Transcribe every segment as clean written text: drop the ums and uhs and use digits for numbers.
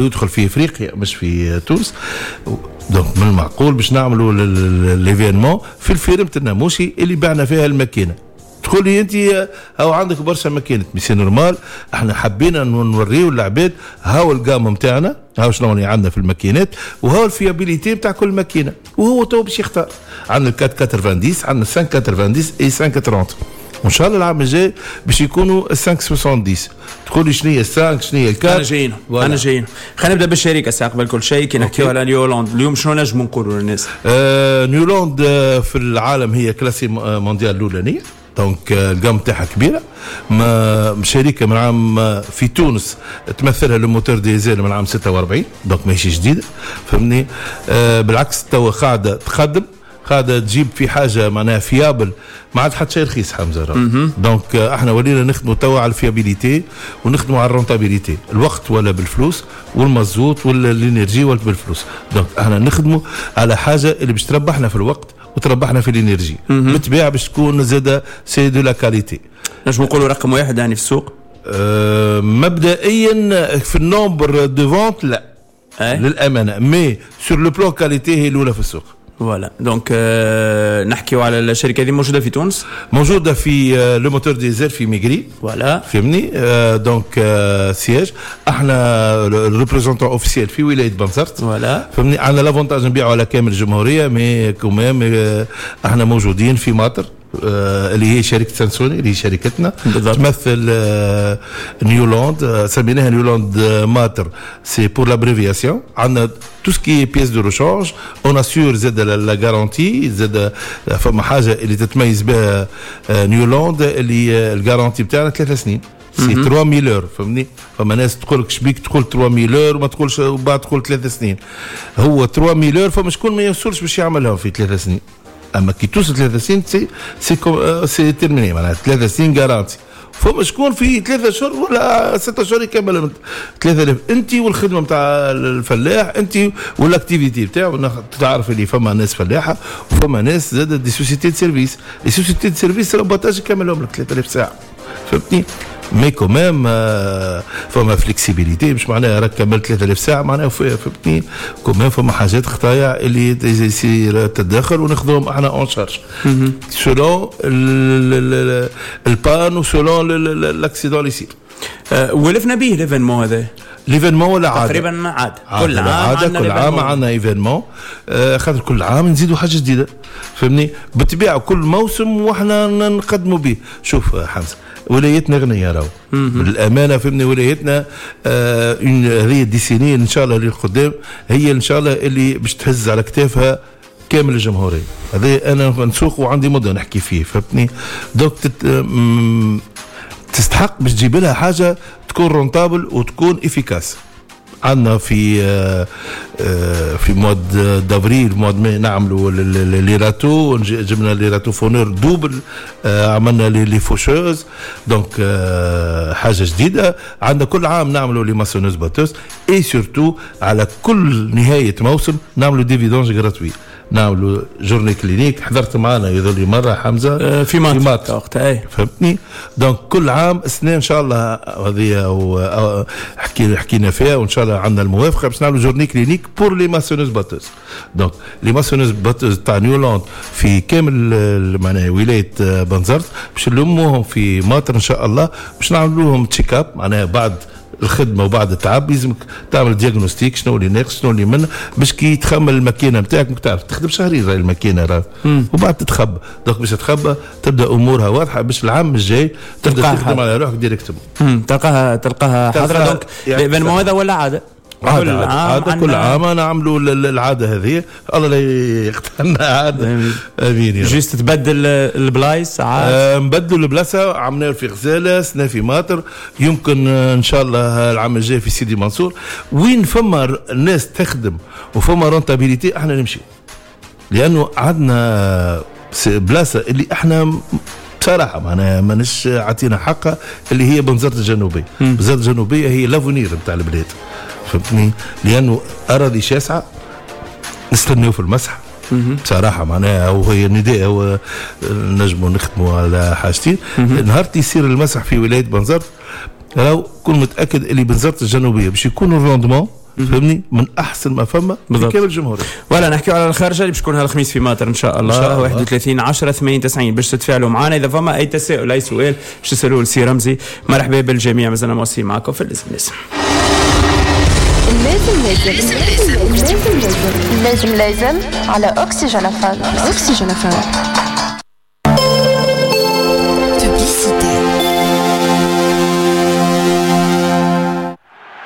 يدخل في افريقيا مش في تونس. donc من المعقول باش نعملوا l'événement في ال ferme الناموسي اللي بعنا فيها الماكينه. تقول لي انت هاو عندك برشا ماكينات، mais c'est normal، احنا حبينا نوريو العباد هاو ال gamme نتاعنا، هاو شنو اللي عندنا في الماكينات وهاو ال fiabilité نتاع كل ماكينه، وهو تو باش يختار. عندنا 490، عندنا 590 et 530، وان شاء الله العام الجاي باش يكونوا 570. تقول لي شنو هي 5، شنو هي ال quatre؟ انا جايين، انا جايين. خلينا نبدا بالشركة ساعة قبل كل شيء. كي نحكيو على نيولاند اليوم، شنو نجموا نقولوا للناس؟ نيولاند في العالم هي classée mondiale الاولانيه، donc ال gamme تاعها كبيره. ما شركة من عام في تونس تمثلها le moteur diesel من عام 46، donc ماهيش جديده، فهمني؟ بالعكس، توا قاعدة تخدم، قاعدة تجيب في حاجة معناها fiable. ما عاد حتى شيء رخيص حمزه. donc احنا ولينا نخدموا توا على ال fiabilité ونخدموا على ال rentabilité. الوقت ولا بالفلوس، والمازوت ولا l'énergie ولا بالفلوس. donc احنا نخدموا على حاجة اللي باش تربحنا في الوقت وتربحنا في l'énergie، بالطبيعة باش تكون زاده c'est de la qualité. نجم نقولوا رقم واحد يعني في السوق؟ مبدئيا في ال nombre de ventes لا أه؟ للامانه، mais sur le plan qualité هي الاولى في السوق. voilà، donc نحكيو على الشركة هذه، موجودة في تونس؟ موجودة في le moteur diesel في ميغري. voilà. فهمني؟ donc siège، احنا ال représentant officiel في ولاية بنزرت. voilà. فهمني؟ عندنا l'avantage نبيعوا على كامل الجمهوريه، mais quand même احنا موجودين في ماطر اللي هي شركة سانسوني، اللي هي شركتنا. تمثل نيولاند. سميناها نيولاند ماتر، c'est pour l'abréviation. عندنا tout ce qui est pièces de rechange، on assure زاد la garantie. زاد فما حاجة اللي تتميز بها نيولاند، اللي ال garantie بتاعنا 3 سنين، c'est 3000 heures، فهمني؟ فما ناس تقول لك شبيك تقول 3000 heures وما تقولش وبعد تقول 3 سنين. هو 3000 heures، فما شكون ما يوصلش باش يعملها في 3 سنين، اما كي توصل 3 سنين c'est terminé، معناها 3 سنين garantie. فما شكون في 3 شهور ولا 6 شهور يكمل 3000. انت والخدمة نتاع الفلاح، انت وال activité نتاعو. تعرف اللي فما ناس فلاحة وفما ناس زاد des sociétés de service. les sociétés de service l'abattage يكملهم لك 3000 ساعه، فهمتني؟ mais quand même فما flexibilité، مش معناها راك كملت 3000 ساعة معناها، فهمتني؟ quand même فما حاجات خطايا اللي يصير تدخل وناخذوهم احنا en charge selon ال panne و selon l'accident اللي يصير. ولفنا به l'événement هذا. l'événement ولا عاده. تقريبا عاده. كل عام عادة، كل عام عندنا événement، خاطر كل عام نزيدوا حاجة جديده، فهمني؟ بالطبيعة كل موسم واحنا نقدموا به. شوف حمزه، ولايتنا غنية راهو بالامانه، فهمني؟ ولايتنا هذه décennie ان شاء الله اللي قدام هي ان شاء الله اللي باش تهز على كتافها كامل الجمهوريه. هذا انا نسوق وعندي مده نحكي فيه، فهمتني؟ donc تستحق باش تجيب لها حاجة تكون rentable وتكون efficace. عندنا في mois d'avril، mois de mai نعملوا les râteaux، جبنا les râteaux-fauneurs double، عملنا les faucheuses، donc حاجة جديده. عندنا كل عام نعملوا les moissonneuses batteuses et surtout على كل نهاية موسم نعملوا des vidanges gratuites، نعملوا journée clinique. حضرت معنا يظل مرة حمزه. في مات وقتها. فهمتني؟ donc كل عام السنة ان شاء الله هذه حكينا فيها وان شاء الله عندنا الموافقة باش نعملوا journée clinique pour les moissonneuses batteuses. donc les moissonneuses batteuses تاع نيولاند في كامل معناها ولاية بنزرت باش نلموهم في ماطر ان شاء الله، باش نعملوا لهم check-up، معناها بعد الخدمة وبعد التعب لازمك تعمل diagnostic، شنو اللي ناقص، شنو اللي من باش كي تخمل الماكينة نتاعك. تعرف تخدم شهرين راهي الماكينة راه وبعد تتخبى. donc باش تتخبى تبدا امورها واضحة باش العام الجاي تبدا تخدم على روحك directement. تلقاها حاضره. donc l'événement هذا ولا عاده. عادة، عادة، كل عام نعملوا العادة هذه، الله لا يقطعنا عادة، امين. juste تبدل البلايص ساعات. نبدلوا البلاصة، عملنا في غزالة، سنة في ماطر، يمكن ان شاء الله العام الجاي في سيدي منصور. وين فما الناس تخدم وفما rentabilité احنا نمشي، لانه عندنا بلاصة اللي احنا بصراحة معناها ماناش عطينا حقها، اللي هي بنزرت الجنوبيه. بنزرت الجنوبية هي l'avenir نتاع البلاد، فهمتني؟ لانه اراضي شاسعه. نستناو في المسح بصراحه، معناها وهي نداء، هو نجموا نخدموا على حاجتين. نهار يصير المسح في ولاية بنزرت راهو كون متاكد اللي بنزرت الجنوبية باش يكون ال rendement فهمني، من احسن ما فما في كامل الجمهورية. ولا نحكيو على الخرجه اللي باش تكون هالخميس في ماطر ان شاء الله 31 10 80 90 باش تتفاعلوا معنا. اذا فما اي تساؤل اي سؤال باش تسالوه لسي رمزي، مرحبا بالجميع. مازلنا مواصلين معكم في اللازم لازم. اللازم لازم اللازم لازم لازم على اكسجين FM. اكسجين FM.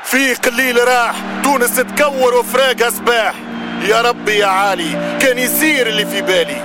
فيق الليل راح، تونس تكور وفراقها صباح. يا ربي يا عالي كان يصير اللي في بالي.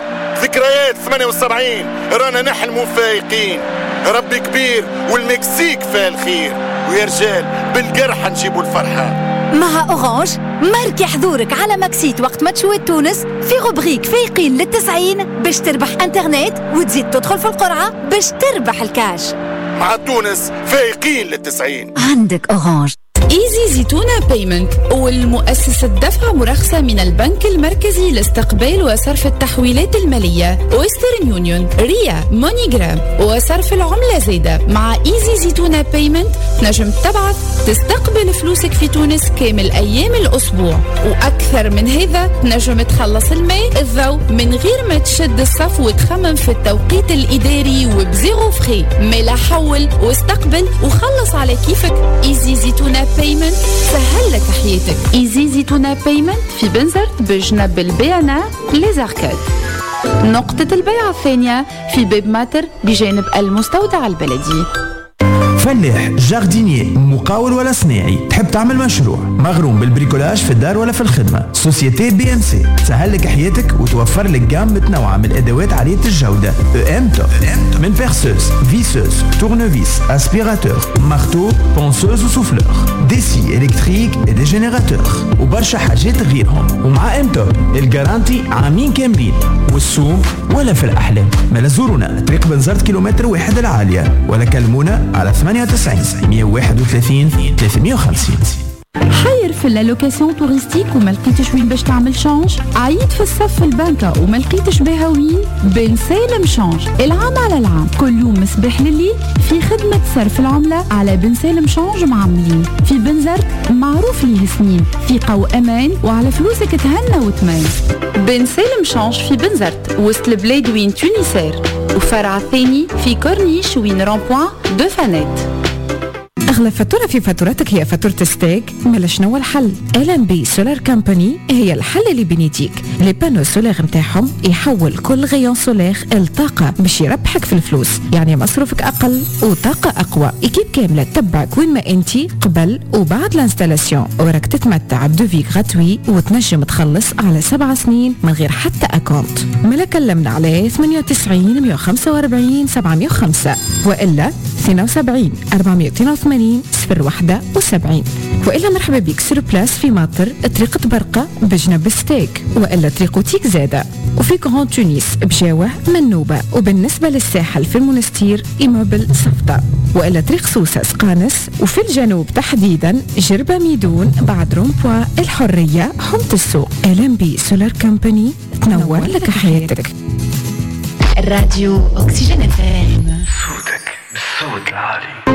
ذكريات 78 رانا نحلموا فايقين. ربي كبير والمكسيك فيها الخير، ويا رجال بالقرحة نجيبوا الفرحة. مع Orange ماركي حضورك على Maxit وقت ماتشوات تونس في rubrique فايقين للتسعين باش تربح انترنت وتزيد تدخل في القرعة باش تربح الكاش. مع تونس فايقين للتسعين. عندك Orange. Easy Zitouna Payment والمؤسسة دفع مرخصة من البنك المركزي لاستقبال وصرف التحويلات المالية، Western Union، Ria، MoneyGram وصرف العملة زايدة. مع Easy Zitouna Payment تنجم تبعث تستقبل فلوسك في تونس كامل أيام الأسبوع، وأكثر من هذا تنجم تخلص الماء الضوء من غير ما تشد الصف وتخمم في التوقيت الإداري وب zéro frais. مالا حول واستقبل وخلص على كيفك. Easy Zitouna Payment سهل لك حياتك. Easy Zitouna Payment في بنزرت بجنب ال BNA Les Arcades. نقطة البيع الثانية في باب ماتر بجانب المستودع البلدي. فلاح، jardinier، مقاول ولا صناعي، تحب تعمل مشروع، مغروم بال bricolage في الدار ولا في الخدمة، société BMC تسهل لك حياتك وتوفر لك gamme متنوعة من الأدوات عالية الجودة. ام توب من perceuse، visseuse، tournevis، aspirateur، marteau، ponceuse و souffleur، des scies électriques et des générateurs وبرشا حاجات غيرهم. ومع ام توب ال garantie عامين كاملين والسوم ولا في الأحلام. ما زورونا طريق بنزرت كيلومتر 1 العالية، ولا كلمونا على 98 131 350. حير في l'allocation touristique وما لقيتش وين باش تعمل change، عييت في الصف في البنكة وما لقيتش بها وين، بن سالم Change العام على العام كل يوم مصباح لليل في خدمة صرف العملة على بن سالم Change معملين في بنزرت معروف ليه سنين، ثقة وأمان وعلى فلوسك تهنى وتمان. بن سالم Change في بنزرت وسط البلاد وين Tunisair، وفرع الثاني في كورنيش وين rond-point دو فانات. أغلى فاتورة في فاتورتك هي فاتورة STEG، مالا شنو الحل؟ LMB Solar Company هي الحل اللي بين يديك. les panneaux solaires نتاعهم يحول كل rayon solaire لطاقة باش يربحك في الفلوس، يعني مصروفك أقل وطاقة أقوى. équipe كاملة تتبعك وين ما أنت قبل وبعد l'installation، وراك تتمتع ب devis gratuit وتنجم تخلص على 7 سنين من غير حتى acompte. مالا كلمنا على 98 145 705 وإلا 72 482 071، وإلا مرحبا بك sur place في ماطر طريقة برقة بجنب STEG، وإلا طريق تيك زادة، وفي Grand Tunis بجاوة منوبة، وبالنسبة للساحل في المونستير immeuble صفطة، وإلا طريق سوسة سقانس، وفي الجنوب تحديدا جربة ميدون بعد rond-point الحرية حمة السوق. LMB Solar Company تنور لك حياتك. الراديو اكسجين FM، صوتك بالصوت العالي.